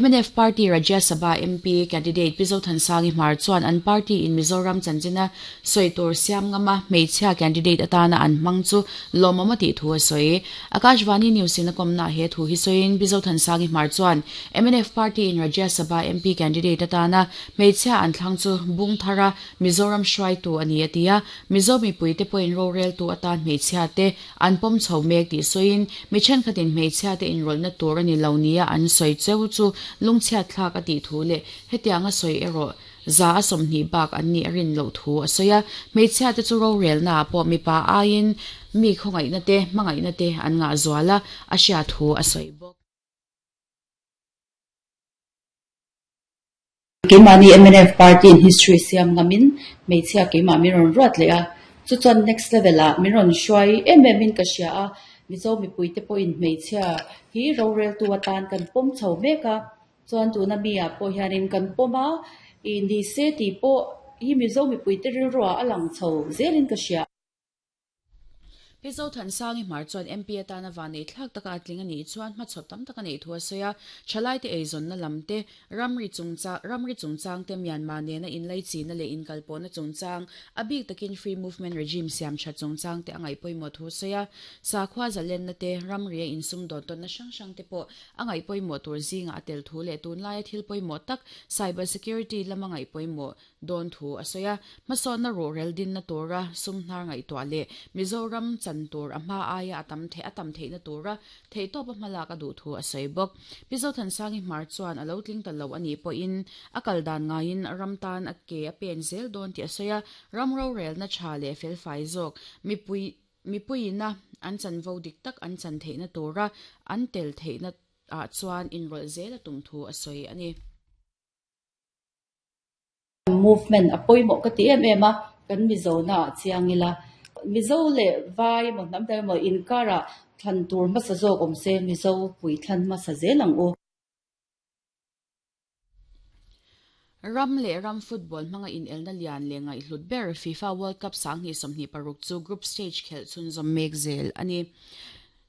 Mnf Party Rajya Sabha MP candidate Pi Zothansangi Hmar chuan an party in Mizoram chanchina sawi tur siam ngama hmeichhia candidate atana an hmang chu lawmawm a tih thu a sawi. Akashvani News in a kawmnaah he thu hi sawiin Pi Zothansangi Hmar chuan mnf Party in Rajya Sabha MP candidate atana hmeichhia an thlang chu bung thara Mizoram hruaitu a ni a ti a, Mizo mipuite pawhin roreltu atan hmeichhia te An pawm chho mek tih sawiin, mi thenkhatin hmeichhiate inrawlhna tur a ni lo nia an sawi cheu chu lungchhiat thlak a tih thu leh hetianga sawi erawh 120 bak an nih a rin loh thu a sawi a. Hmeichhiate chu rorelnaah pawh mipa aiin mi khawngaihna te, hmangaihna te an ngah zual a, a hriat thu a sawi bawk. Keimahni mnf party in history siam ngamin hmeichhia keimah min rawn ruat leh a, chu chuan next level ah min rawn hruai em em in ka hria a, Mizo mipuite pawhin hmeichhia hi roreltu atan kan pawm chho mek a, chuan tuna mi ah pawh hianin kan pawm a, ih ni se tih pawh hi Mizo mipuite rilruah a lang chho zelin ka hria. Pi Zothansangi Hmar chuan MP atana vanneih thlak taka a tling a nih chuan hmachhawp tam tak a neih thu a sawi a, thalaite eizawnna lam te, ramri chungchang ramri chungchang te Myanmar nena inlaichihna leh inkalpawhna chungchang, a bik takin Free Movement Regime siam that chungchang te a ngaih pawimawh thu a sawi a, sakhua zalenna te, ramria insumdawn tawnna hrang hrang te pawh a ngaih pawimawh tur zingah a tel thu leh tunlaia thil pawimawh tak cyber security lama ngaih pawimawh dawn thu a sawi a, hmasawnna ruhrel dinna tura sum hnar ngaihtuah leh Mizoram chan tur a hma aia a tam theih a tam theihna tura theihtawpa hmalak a duh thu a sawi bawk. Pi Zothansangi Hmar chuan a lo tling ta lo a nih pawhin a kal dan ngaiin ram tan a ke a pen zel dawn tih a sawi a, ram rorelna tha leh felfai zawk mipui mipuiina an chanvo dik tak an chan theihna tura an tel theihna ah chuan inrawlh zel a tum thu a sawi a ni. Movement a pawimawh ka ti em em a, kan Mizo na ah chiang ila. Mizo leh Vai emaw hnam dang emaw inkar ah thlan tur hmasa zawk awm se Mizo pui thlan hmasa zel ang u. Ram leh ram football hmanga inelna lian leh ngaihhlut ber FIFA World Cup 2026 chu group stage khelh chhunzawm mek zel a ni.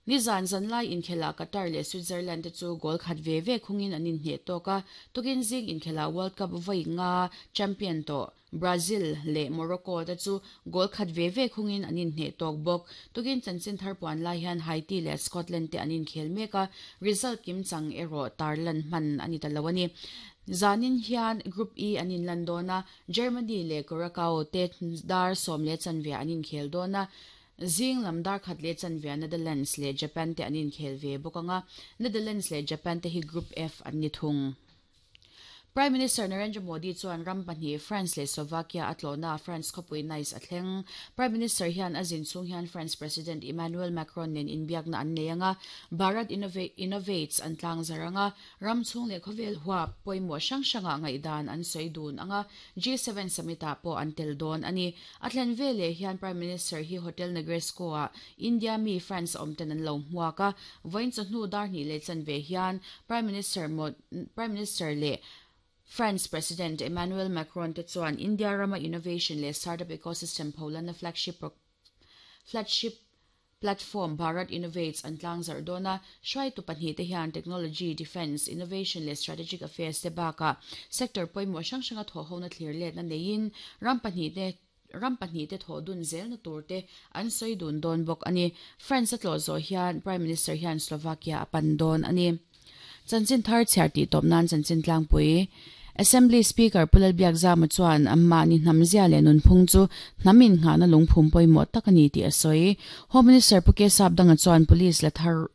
Nizan zanlai inkhelah Qatar leh Switzerland te chu goal khat ve ve khungin an inhneh tawk a, tukin zing inkhelah World Cup vawi nga champion tawh Brazil leh Morocco te chu goal khat ve ve khungin an inhneh tawk bawk. Tukin chanchin thar puan lai hian Haiti leh Scotland te an inkhel mek a, result kimchang erawh tarlan hman a ni ta lo a ni. Zanin hian Group E an inlan dawn a, Germany leh Curacao te dar 10:15 an inkhel dawn a, Zing lam dar khat leh chanvia Netherlands leh Japan te an inkhel ve bawk ang a, Netherlands leh Japan te hi Group F an ni thung. Prime Minister Narendra Modi chuan ram pahnih France leh Slovakia a tlawhna France khawpui Nice a thleng. Prime Minister hian a zin chhung hian France President Emmanuel Macron nen inbiakna an nei ang a, Bharat Innovates an tlangzar ang a, ram chhung leh khawvel huap pawimawh hrang hrangah ngaihdan an sawi dun ang a, G7 Summit-ah pawh an tel dawn a ni. A thlen veleh hian Prime Minister hi Hotel Negresco-ah India mi France awm ten an lo hmuak a, vawiin chawhnu dar hnih leh chanve hian Prime Minister Prime Minister leh France President Emmanuel Macron te chuan India rama innovation leh startup ecosystem pholanna flagship flagship Platform Bharat Innovates an tlangzarh dawn a, hruaitu pahnihte hian technology, defence, innovation leh strategic affairs te bakah sector pawimawh hrang hranga thawhhona thlir letna neiin ram pahnihte ram pahnihte thawh dun zelna turte an sawi dun dawn bawk a ni. France a tlawh zawh hian Prime Minister hian Slovakia a pan dawn a ni. Chanchin thar chhiar tih tawp nan chanchin tlangpui Assembly Speaker Pu Lalbiakzama chuan mahni hnamzia leh nunphung chu hnam innghahna lungphum pawimawh tak a ni tih a sawi. Home Minister Pu Kesap Danga chuan Police la thar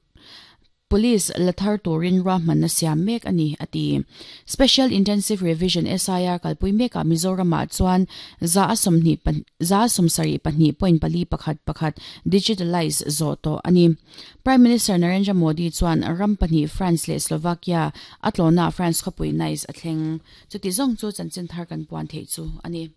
Police la thar turin ruahmanna siam mek a ni, a ti. Special Intensive Revision, SIR, kalpui mekah Mizoramah chuan 127 point pali pakhat pakhat digitalize zawh tawh a ni. Prime Minister Narendra Modi chuan ram pahnih France leh Slovakia a tlawhnaah France khawpui Nice a thleng. Chuti zawng chu chanchin thar kan puan theih chu a ni.